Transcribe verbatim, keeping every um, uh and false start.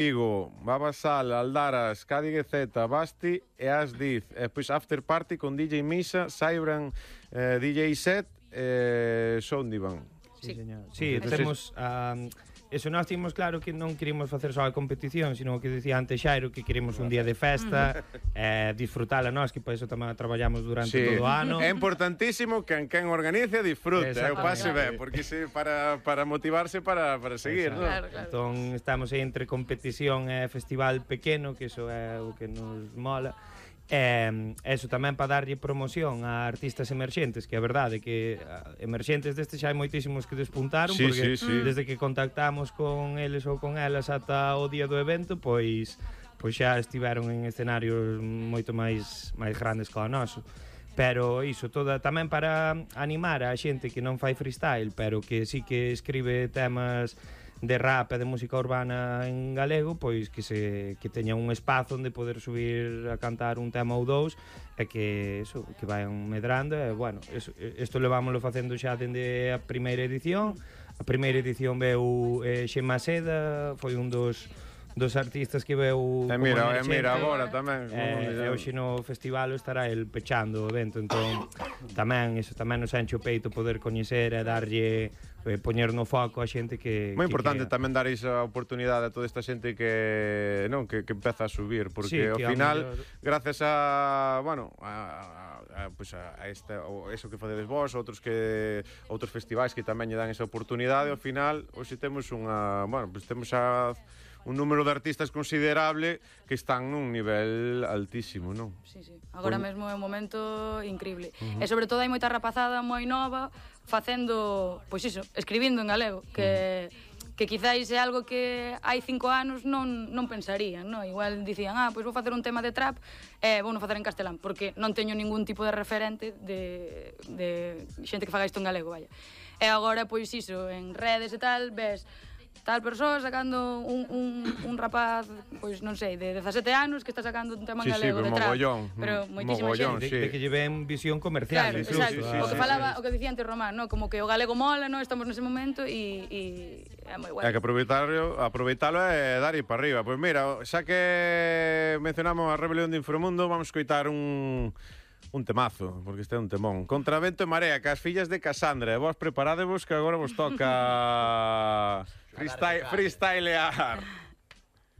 Vigo, Babasal, Aldaras, Cádiz Z, Basti e Asdiz. E pois After Party con D J Misa, Cybran, eh, D J Set e eh, Soundivan. Sí, señor. Sí, temos... Um, eso nós tínhamos claro que non queríamos facer só a competición, sino que decía antes Xairo que queremos un día de festa, eh, disfrutala nós, que por eso tamén traballamos durante sí. todo o ano. É importantísimo que quen organice disfrute, eu pase ben, porque se para, para motivarse para, para seguir, non? Claro, claro. Entón estamos aí entre competición e festival pequeno, que iso é o que nos mola. E eso tamén para darlle promoción a artistas emerxentes, que a verdade que emerxentes destes xa hai moitísimos que despuntaron, sí, porque sí, sí. desde que contactamos con eles ou con elas ata o día do evento, pois pois xa estiveron en escenarios moito máis máis grandes que o noso. Pero iso, toda tamén para animar a xente que non fai freestyle, pero que sí que escribe temas de rap e de música urbana en galego, pois que se que teña un espazo onde poder subir a cantar un tema ou dous e que eso, que vayan medrando e bueno, eso, isto levámoslo facendo xa dende a primeira edición. A primeira edición veu eh, Xema Seda, foi un dos dos artistas que veu e mira, e mira agora tamén e eh, hoxe no festival estará el pechando o evento, entón tamén iso tamén nos enche o peito poder coñecer e darlle eh, poñer no foco a xente que moi que importante queda. Tamén dar esa oportunidade a toda esta xente que non que, que empeza a subir, porque sí, ao final mellor... gracias a bueno a, a, a, pues a, a esta o eso que facedes vos, outros que outros festivais que tamén lle dan esa oportunidade, ao final hoxe temos unha, bueno, pues temos a un número de artistas considerable que están nun nivel altísimo, non? Sí, sí. Agora Por... mesmo é un momento increíble. Uh -huh. E sobre todo hai moita rapazada moi nova facendo, pois iso, escribindo en galego, que uh -huh. que quizáis é algo que hai cinco anos non non pensarían, non? Igual dicían, ah, pois vou facer un tema de trap e vou non facer en castelán, porque non teño ningún tipo de referente de de xente que faga isto en galego, vaya. E agora pois iso, en redes e tal, ves tal persoa sacando un, un, un rapaz, pois non sei, de dezasete anos que está sacando un tema en sí, galego sí, de trap, mogollón, pero moitísima xente de, de que lle ven visión comercial, claro, incluso. Exacto, sí, sí, o que sí, falaba, sí. o que dicía antes Román, no, como que o galego mola, no, estamos nese momento e e é moi guai. Hai que aproveitarlo, aproveitalo e dar ir para arriba. Pois mira, xa que mencionamos a Rebelión de Inframundo, vamos coitar un un temazo, porque este é un temón. Contra vento e marea, cas fillas de Casandra. E vos preparadevos que agora vos toca freestyle, freestylear.